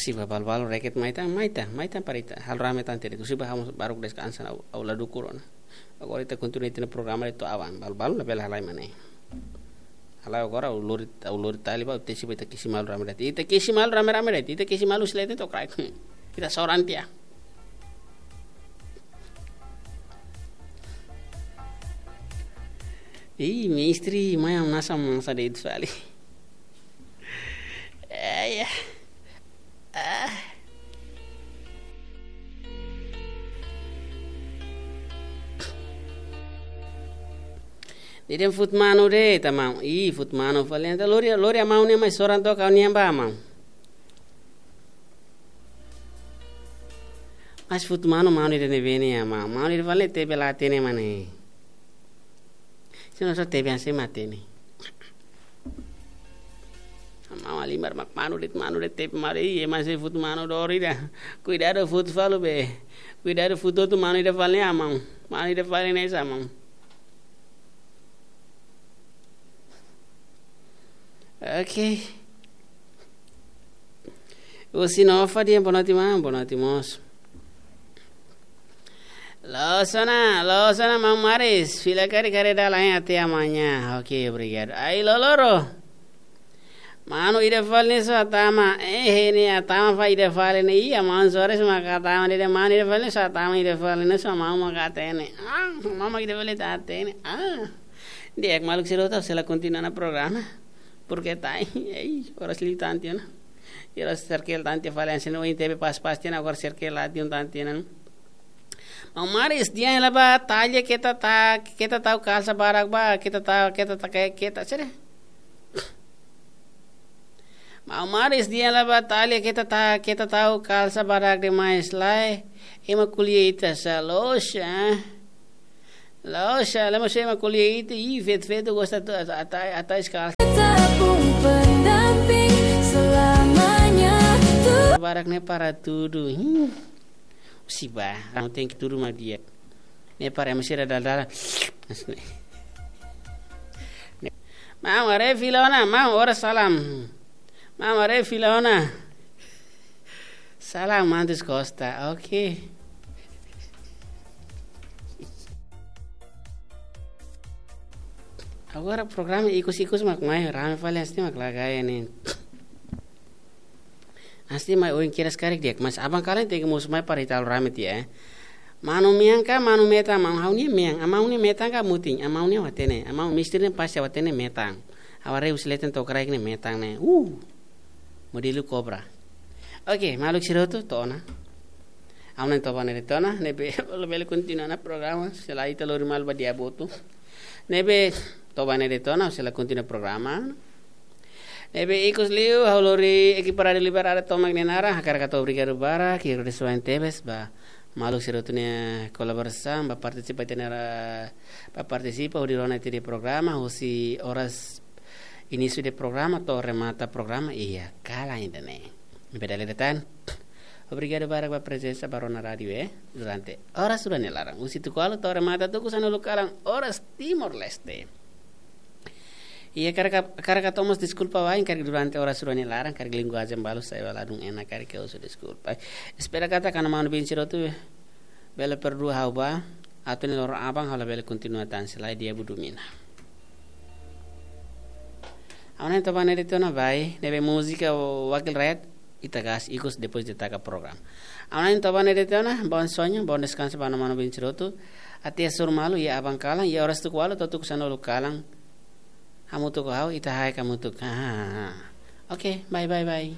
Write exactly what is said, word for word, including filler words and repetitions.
Husi balu-balu reket mai tan, mai tan, mai tan para ita halo rame tan tede. Husi ba ha'u baruk deskansa ona, ha'u, ha'u la dukur ona. Agora ita kontinua ita-nia programa de'it to'o aban. Balu-balu labele halai mak ne'e. Halai agora ha'u lori, ha'u lori tali ba, tesi ba ita kesi malu rame de'it. Ita kesi malu rame-rame de'it. Ita kesi malu husi leten to'o kraik. Ita soran tiha. Ih, mestre, mai am nasa masa de'it fali. Eh, ya. Ah. Deden fut manu de'it maun. Ih, fut manu fali. Entaun lori, lori maun ne'e mai soran to'o ha'u-nian ba maun. Mas fut manu, manu ida ne'ebé ne'e maun. Manu ida fali tebe la hatene mak ne'e. Se não só tebe hanesan mak hatene. Maun halimar mak manu de'it, manu de'it tebe manu. Ih, mas se fut manu dori ida. Kuidadu fut fali be. Kuidadu fut hotu manu ida fali ne'e maun. Manu ida fali ne'e sá maun. Ok. Husi Nova dehan boa noite maun, boa noite mós. Loos ona, loos ona maun Maris, fila karik haree dala hein até amanhã. Ok, obrigadu. Ai, loloron. Manu ida fali ne'e só hatama, eh, ne'e hatama fali ida fali ne'e, ih, maun Soares maka hatama de'it, manu ida fali ne'e só hatama ida fali ne'e só maun maka hatene. Ah, maun mak ida fali la hatene. Ah. Di'ak maluk sira hotu, sei la kontinua ona programa. Porque tá, ei, oras liu tan tiha ona. Oras serkel tan tiha fali hanesan ohin tebe pas-pas tiha ona, agora serkel la tiha ona tan tiha ona. Maun Maris, dehan hela ba Tália keta ta, keta tau kalsa barak ba, keta ta, keta ta, ke-, keta, sira. Maun Maris, dehan hela ba Tália keta ta, keta tau kalsa barak demais, lae. Ema ko'alia ita sá, loos, eh. Loos, lae, mas ema ko'alia ita, ih, feto-feto gosta atu, atu, atu, atu kalsa. Tetap pendamping selamanya. Barak ne'e para tudu. Hmm. Husi ba, anu tenke tudu mak di'ak. Ne'e para ema sira dala-dala. Maun haree fila ona, maun oras salam. Maun haree fila ona. Salam, Mantus Costa. Ok. Agora programa ikus-ikus mak mai, rame fali hanesan ne'e mak la gaya ne'e. Hanesan ne'e mai oin kedas karik di'ak, mas aban kalan tenke mosu mai para ita halo rame tiha, eh. Manu mean ka, manu metan, maun ha'u-nia mean, maun nia metan ka mutin, maun nia hatene, maun mestre nia pasti hatene metan. Ha'u haree husi leten to'o kraik ne'e metan ne'e. Uh. Modelu kobra. Ok, maluk sira hotu, to'o ona. Ha'u na'in toba ne'e de'it ona, ne'ebé labele kontinua ona programa, se lae ita lori malu ba di'ak boot. Ne'ebé toba ne'e de'it ona, sei la kontinua programa. Ne'ebé ikus liu, ha'u lori ekipa Rádiu Liberdade tomak nia naran, hakarak hato'o obrigadu barak, hodi suan tebes ba maluk sira hotu nia kolaborasaun, ba partisipa ita-nia ra-, ba partisipa, hodi rona ita-nia programa, husi oras inísiu de programa, to'o remata programa, iha kalan ida-ne'e. Ne'ebé dala ida tan. Obrigadu barak ba prezensa ba rona rádiu, eh, durante oras rua nia laran. Husi tuku ualu to'o remata tuku sanulu kalan oras Timor-Leste. Iha karik, karik hato'o mós deskulpa wa'in, karik durante oras rua nia laran, karik linguajen balu sai ba ladún enak, karik ha'u husu deskulpa. Espera katak kona-ba manu bin sira hotu bele perdua ha'u ba, atu nia loron aban ha'u labele kontinua tan, se lae di'ak budu mina. Ha'u na'in toba ne'e de'it ona, bye. Ne'ebé múzika Wakil Rakyat, ita gas ikus depois de taka programa. Ha'u na'in toba ne'e de'it ona, bom sonho, bom descanso ba kona-ba manu bin sira hotu. Até hasoru malu, iha aban kalan, iha oras tuku ualu to'o tuku sanulu kalan. Hamutuk ho ha'u, ita haek hamutuk. Ha, ha, ha, ha. Ok, bye, bye, bye.